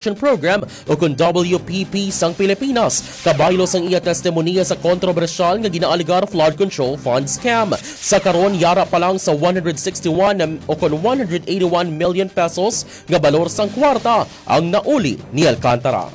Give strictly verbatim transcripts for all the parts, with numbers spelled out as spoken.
Program o kon W P P sang Pilipinas, kabaylo sang iya testimonya sa kontrobersyal nga ginaalegar flood control fund scam. Sa karon, yara pa lang sa one hundred sixty-one o kon one hundred eighty-one million pesos nga balor sang kwarta ang nauli ni Alcantara.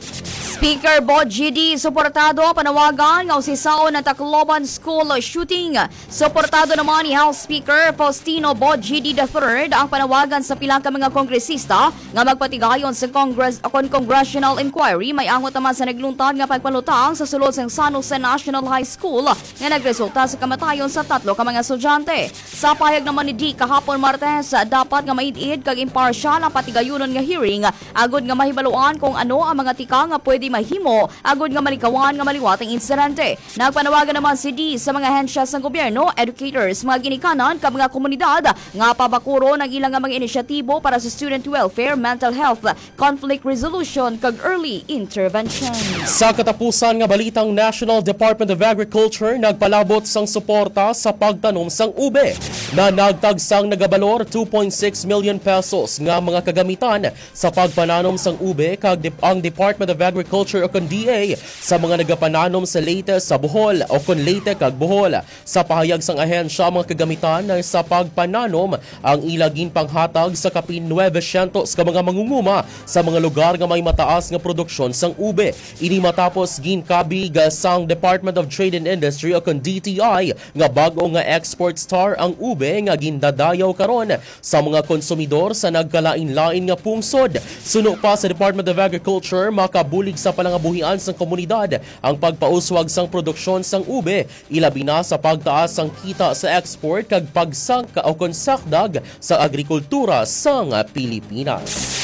Speaker Bo G D suportado ang panawagan nga usisaon ang Tacloban School shooting. Suportado naman ni House Speaker Faustino Bo G D the third ang panawagan sa pila ka mga kongresista nga magpatigayon sa Congress o kon congressional inquiry, may angot naman sa nagluntad nga pagpalutang sa sulod sang San Jose National High School nga nagresulta sa kamatayon sa tatlo ka mga estudyante. Sa pahayag naman ni D kahapon Martes, dapat nga maid-id kag imparsyal ang patigayunon nga hearing agod nga mahibaluan kung ano ang mga tika nga pwede mahimo agud nga malikawan nga maliwat ang insidente. Nagpanawagan naman si D sa mga ahensya sang gobyerno, educators, mga ginikanan, kag mga komunidad nga pabakuron ang ila nga mga inisyatibo para sa student welfare, mental health, conflict resolution, kag early intervention. Sa katapusan nga balitang, National Department of Agriculture nagpalabot sang suporta sa pagtanom sang ube. Nanagtag sang nagabalor two point six million pesos nga mga kagamitan sa pagpananom sang ube kag dep-, ang Department of Agriculture o kon D A sa mga nagapananom sa Leyte, sa Bohol o kon Leyte kag Bohol. Sa pahayag sang ahensya, ang mga kagamitan na sa pagpananom ang ila ginpanghatag sa kapin nuebe syentos ka mga mangunguma sa mga lugar nga may mataas nga produksyon sang ube. Ini matapos ginkabig sang Department of Trade and Industry o kon D T I nga bag-o nga export star ang ube nga gindadayaw karon sa mga konsumidor sa nagkalain-lain nga pungsod. Suno pa sa Department of Agriculture, makabulig sa palangabuhian sang komunidad ang pagpauswag sang produksyon sang ube, ilabi na sa pagtaas sang kita sa export kag pagsangka o kon sakdag sa agrikultura sang Pilipinas.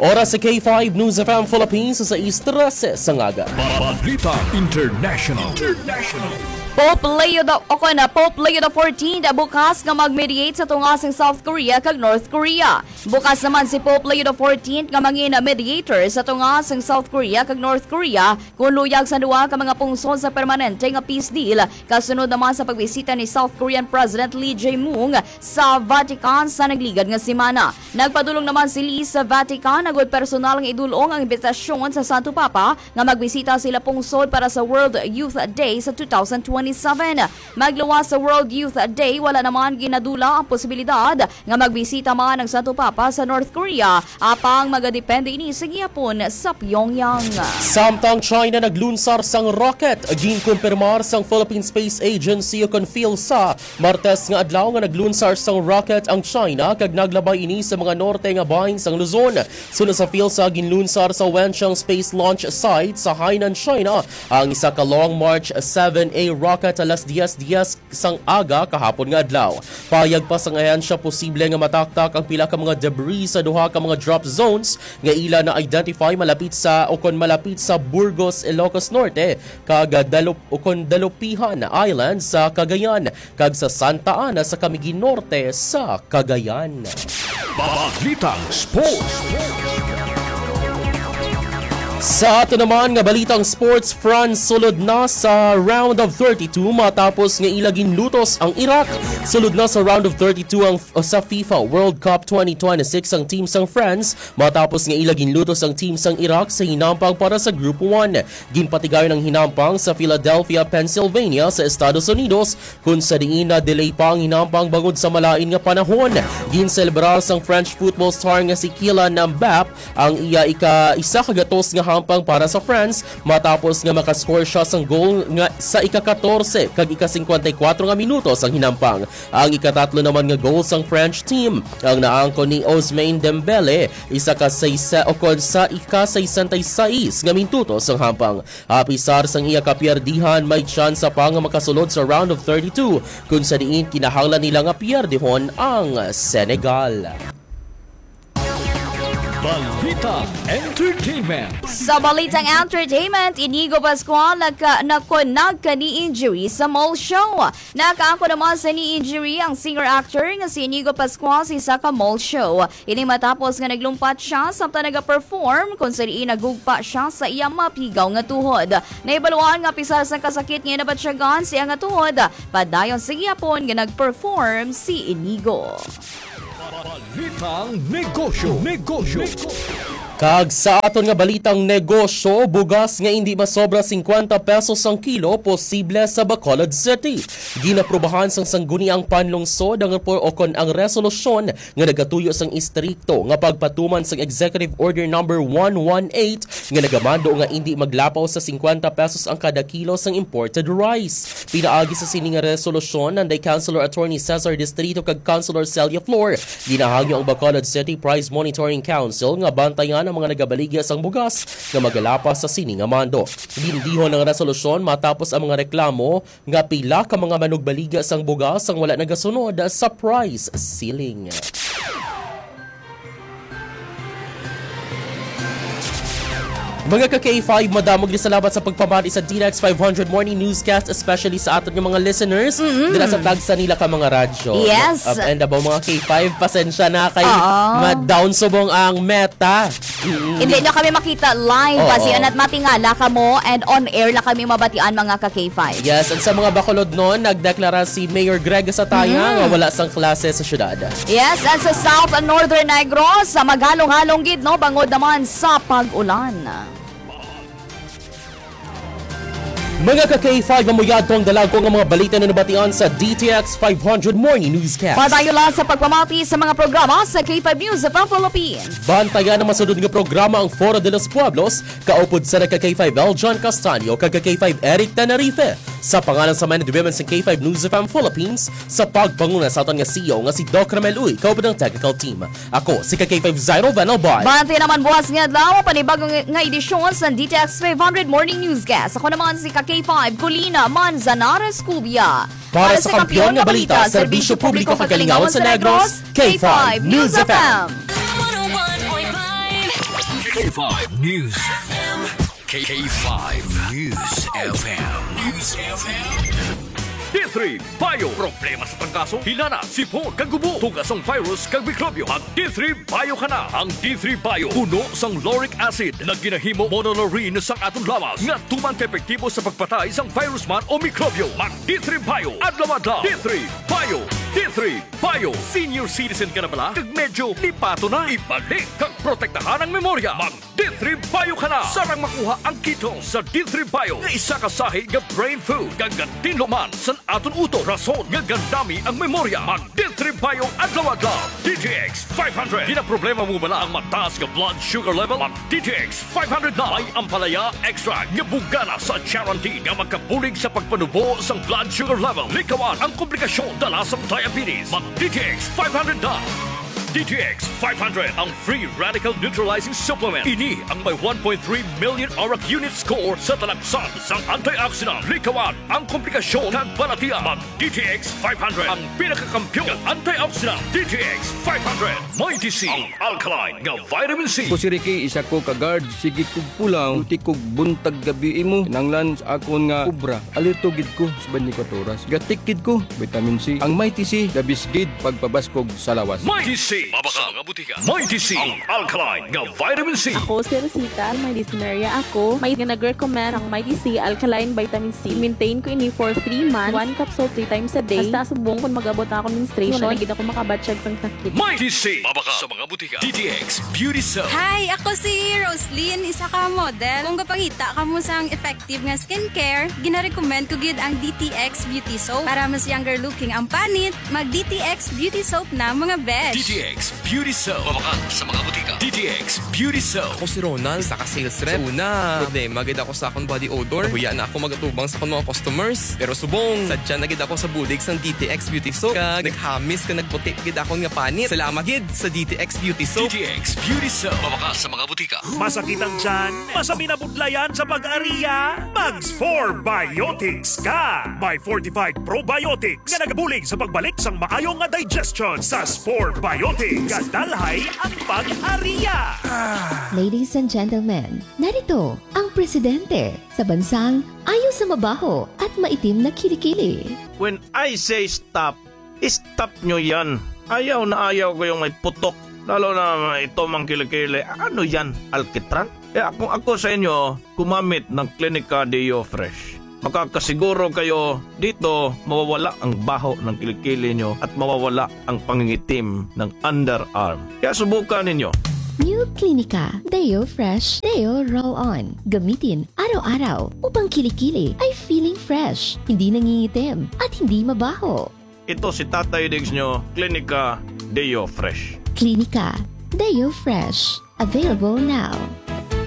Oras sa K five News F M Philippines sa sais trese sa aga. Balita International. International. Pope Leo the, o kon, ah, Pope Leo the fourteenth bukas nga mag-mediate sa tunga sang South Korea kag North Korea. Bukas naman si Pope Leo the fourteenth nga mangin mediator sa tunga sang South Korea kag North Korea, kun luyag sa duha ka mga pungsod sa permanente nga peace deal, kasunod naman sa pagbisita ni South Korean President Lee Jae-myung sa Vatican sa nagligad nga semana. Nagpadulong naman si Lee sa Vatican agud personal nga idul-ong ang imbitasyon sa Santo Papa nga magbisita sa ila pungsod para sa World Youth Day sa two thousand twenty-seven. Magluwas sa World Youth Day, wala naman ginadula ang posibilidad nga magbisita man ang Santo Papa sa North Korea, apang magadepende ini sa gihapon sa Pyongyang. Samtang China naglunsar sang rocket, ginkumpirmar sang Philippine Space Agency o kon PhilSA Martes nga adlaw nga naglunsar sang rocket ang China kag naglabay ini sa mga norte nga bahin sang Luzon. Suno sa PhilSA, ginlunsar sa Wenchang Space Launch Site sa Hainan, China, ang isa ka Long March seven A rocket alas dies dies sang aga kahapon nga adlaw. Pahayag pa sang ahensya, posible nga mataktak ang pila ka mga debris sa duha ka mga drop zones nga ila na-identify malapit sa o kon malapit sa Burgos, Ilocos Norte, kag Dalop-, o kon Dalupihan Island sa Cagayan, kag sa Santa Ana sa Camiguin Norte sa Cagayan. Balitang Sports. Sa ato naman nga balitang sports, France sulod na sa round of thirty-two matapos nga ila ginlutos ang Iraq. Sulod na sa round of thirty-two ang, sa FIFA World Cup twenty twenty-six ang team sang France matapos nga ila ginlutos ang team sang Iraq sa hinampang para sa Group one. Ginpatigayon ang hinampang sa Philadelphia, Pennsylvania, sa Estados Unidos, kun sa diin na-delay pa ang hinampang bangod sa malain nga panahon. Ginselebrar sang French football star nga si Kylian Mbappe ang iya ika-, isa ka gatos nga hampang para sa France matapos nga makascore siya sang goal nga sa ika-katorse kag ika-singkwenta y kuwatro nga minuto sang hinampang. Ang ikatatlo naman nga goal sang French team ang naangkon ni Ousmane Dembele, isa ka saysa o kon sa ika-sesenta y seis nga minuto sang hampang. Apisar sang iya kapiyerdihan, may tsansa pa nga makasulod sa round of thirty-two, kun sa diin kinahanglan nila nga piyerdihon ang Senegal. Balita Entertainment. Sa balitang entertainment, Inigo Pascual nagka-, nako nagka-knee injury sa mall show. Nakaangkon naman sa knee injury ang singer-actor nga si Inigo Pascual sa isa ka mall show. Ini matapos nga naglumpat siya samtang nagaperform, kung sa diin nagugpa siya sa iya mapigaw nga tuhod. Nahibaluan nga apisar sang kasakit nga nabatyagan sa iya nga tuhod, padayon sa gihapon nga nagperform si Inigo. Balitang negosyo. Negosyo. Kag sa aton nga balitang negosyo, bugas nga indi masobra singkwenta pesos ang kilo posible sa Bacolod City. Ginaprubahan sang Sangguniang Panlungsod ang repor-, o kon ang resolusyon nga nagatuyo sang istrikto nga pagpatuman sang Executive Order Number one one eight nga nagamando nga indi maglapaw sa singkwenta pesos ang kada kilo sang imported rice. Pinaagi sa sini nga resolusyon, nanday Councilor Attorney Cesar Distrito kag Councilor Celia Flor, ginahangyo ang Bacolod City Price Monitoring Council nga bantayan ang mga nagabaligya sang bugas nga magalapas sa sini nga mando. Gindihon ang resolusyon matapos ang mga reklamo nga pila ka mga manugbaligya sang bugas ang wala nagasunod sa price ceiling. Mga ka K five, madamo gid salamat sa pagpamati sa D X five hundred Morning Newscast, especially sa aton nga mga listeners Mm-mm. dira sa tagsa nila ka mga radyo. Yes. Up and above, mga K five, pasensya na kay Oo. ma-down subong ang meta. Mm-mm. Hindi nyo kami makita live, Oo. basi ana't matingala kamo and on air lang kami mabatian, mga ka K five. Yes, at sa mga Bacolodnon, nagdeklara si Mayor Greg Sataya Mm. nga wala sang klase sa syudad. Yes, and sa South and Northern Negros, sa maghalong-halong gid, no, bangod naman sa pag-ulan. Mga ka K five, amo yadto ang dalagko nga mga balita na nabatian sa D T X five hundred Morning Newscast. Padayon lang sa pagpamati sa mga programa sa K five News of Philippines. Bantayan ang masunod nga programa, ang Foro de los Pueblos, kaupod sa ka K five Eljon Castaño kag ka K five Eric Tenerife. Sa pangalan sa Men and Women sa K five News F M Philippines, sa pagpanguna sa aton nga C E O nga si Doc Ramel Uy, kaupod ang technical team. Ako si ka K five Zairo Van Albay. Bati naman buwas nga adlaw, panibago nga, nga edisyon sa D T X five hundred Morning Newscast. Ako naman si ka K five Colina Manzanares Cubia. Para sa kampiyon nga balita, serbisyo publiko kag kalingawan sa Negros, K five News F M. K five News F M. K five News F M. News F M. D three Bio. Problema sa trangkaso, hilana, sipon, kag gubo, tugas sang virus kag mikrobyo. Mag D three Bio ka na. Ang D three Bio puno sang lauric acid nga ginahimo monolaurin sang aton lawas nga tuman ka epektibo sa pagpatay sang virus man o mikrobyo. Mag D three Bio adlaw-adlaw. D three Bio. D three Bio. Senior citizen ka na bala? Kag medyo lipaton na? Ibalik kag protektahan ang memorya. Mag D three Bio ka na. Sarang makuha ang ketone sa D three Bio nga isa ka sahi nga brain food kag gatinlo man sa aton utok, rason nga gandami ang memorya. Mag D three Bio adlaw-adlaw. D T X five hundred. Ginaproblema mo bala ang mataas nga blood sugar level? Mag D T X five hundred na. May ampalaya extract nga bugana sa charantin nga makabulig sa pagpanubo sang blood sugar level. Likawan ang komplikasyon dala sang diabetes. Mag D T X five hundred na. D T X five hundred, ang free radical neutralizing supplement. Ini ang may one point three million arak unit score sa talaksan sang antioxidant. Likawan ang komplikasyon kag balatian. Mag D T X five hundred, ang pinakakampiyon nga antioxidant. D T X five hundred, Mighty C, ang alkaline nga vitamin C. Ako si Ricky, isa ko ka guard. Sige kog pulaw, duty kog buntag gabi imo. Kinahanglan sa akon nga obra. Alerto gid ko sa twenty-four oras. Gatik gid ko, vitamin C. Ang Mighty C, the best gid pagpabaskog sa lawas. Mighty C. Mabakal nga butika. Mighty C. Ang alkaline nga vitamin C. Ako si Rosita, may dysmenorrhea ako. May nga nag-recommend ang Mighty C alkaline vitamin C. I-maintain ko ini for three months. One capsule three times a day. Hasta subong kung mag-abot na akong menstruation, wala na gid ako makabatsyag sang sakit. Mighty C. Mabakal sa mga butika. D T X Beauty Soap. Hi, ako si Roslyn, isa ka model. Kung gapangita kamo sang effective nga skincare, ginarecommend ko gid ang D T X Beauty Soap. Para mas younger looking ang panit, mag D T X Beauty Soap na, mga besh. D T X Beauty Soap. Mabakal sa mga butika. D T X Beauty Soap. Ako si Ronald, isa ka sales rep. Sa una, problema gid ako sa akong body odor. Nahuya na ako magatubang sa akong mga customers. Pero subong, sadya na gid ako sa bulig sang D T X Beauty Soap. Kag naghamis kag nagputi gid akon nga panit. Salamat gid sa D T X Beauty Soap. D T X Beauty Soap. Mabakal sa mga butika. Masakit ang tiyan? Masami na budlayan sa pag-ariya? Mag Spore Biotics ka! May fortified probiotics nga nagabulig sa pagbalik sang maayo nga digestion. Sa Spore Biotics, gadalhay ang pag-ariya. Ladies and gentlemen, narito ang presidente sa bansang ayo sa mabaho at maitim na kilikili. When I say stop, stop nyo yan. Ayaw na ayaw ko yung may putok. Lalo na ito mang kilikili. Ano yan? Alkitran? Kaya kung ako sa inyo, gumamit ng Clinica Deo Fresh. Makakasiguro kayo dito mawawala ang baho ng kilikili nyo at mawawala ang pangingitim ng underarm. Kaya subukan ninyo. New Clinica Deo Fresh Deo Roll-On. Gamitin araw-araw upang kilikili ay feeling fresh, hindi nangingitim, at hindi mabaho. Ito si Tatay Diggs nyo, Klinika Deo Fresh. Klinika Deo Fresh. Available now.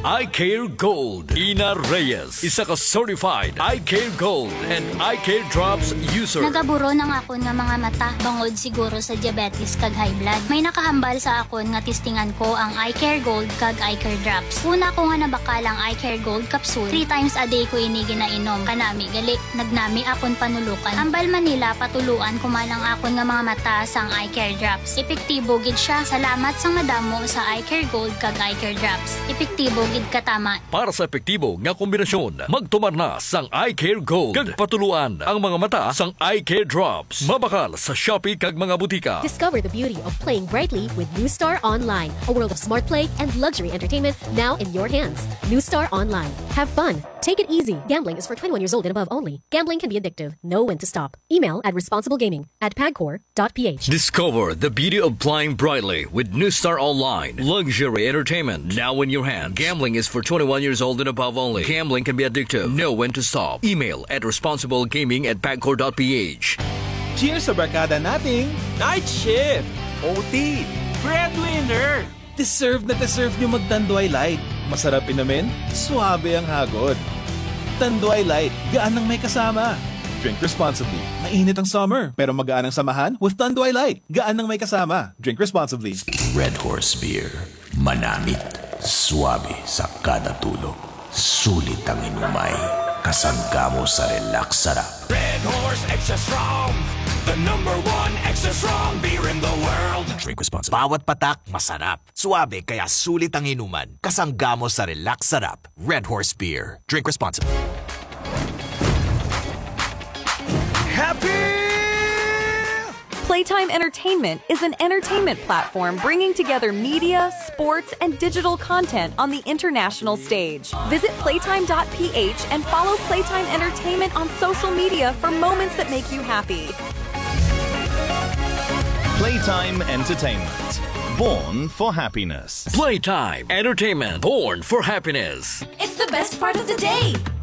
Eye Care Gold. Ina Reyes, isa ka certified Eye Care Gold and Eye Care Drops user. Nagaburon ang akon nga mga mata bangod siguro sa diabetes kag high blood. May nakahambal sa akon nga testingan ko ang Eye Care Gold kag Eye Care Drops. Una ko nga nabakal ang Eye Care Gold capsule. Three times a day ko ini ginainom. Kanami gali, nagnami akon panulukan. Hambal man nila patuluan ko man ang akon nga mga mata sang Eye Care Drops. Epektibo gid siya. Salamat sang madamo sa Eye Care Gold kag Eye Care Drops. Epektibo gid katama. Para sa epektibo nga kombinasyon, magtumar na sang Eye Care Gold kag patuluan ang mga mata sang Eye Care Drops. Mabakal sa Shopee kag mga butika. Discover the beauty of playing brightly with New Star Online, a world of smart play and luxury entertainment now in your hands. New Star Online. Have fun. Take it easy. Gambling is for twenty-one years old and above only. Gambling can be addictive. Know when to stop. Email at responsiblegaming at pagcor.ph. Discover the beauty of playing brightly with New Star Online. Luxury entertainment now in your hand. Gambling is for twenty-one years old and above only. Gambling can be addictive. Know when to stop. Email at responsiblegaming at pagcor.ph. Cheers sa barkada nating Night Shift, O T, Breadwinner. Deserve na deserve nyo mag Tanduay Light. Masarap inumin, suabe ang hagod. Tanduay Light, gaan ang may kasama. Drink responsibly. Mainit ang summer, pero magaan ang samahan with Tanduay Light. Gaan ang may kasama. Drink responsibly. Red Horse Beer. Manamit, suabe sa kada tulo. Sulit ang inumay. Kasangga mo sa relax sarap. Red Horse Extra Strong, the number one extra strong beer in the world. Drink responsibly. Bawat patak, masarap. Suabe, kaya sulit ang inuman. Kasangga mo sa relax sarap. Red Horse Beer. Drink responsibly. Happy! Playtime Entertainment is an entertainment platform bringing together media, sports, and digital content on the international stage. Visit playtime dot p h and follow Playtime Entertainment on social media for moments that make you happy. Playtime Entertainment. Born for happiness. Playtime Entertainment, born for happiness. It's the best part of the day.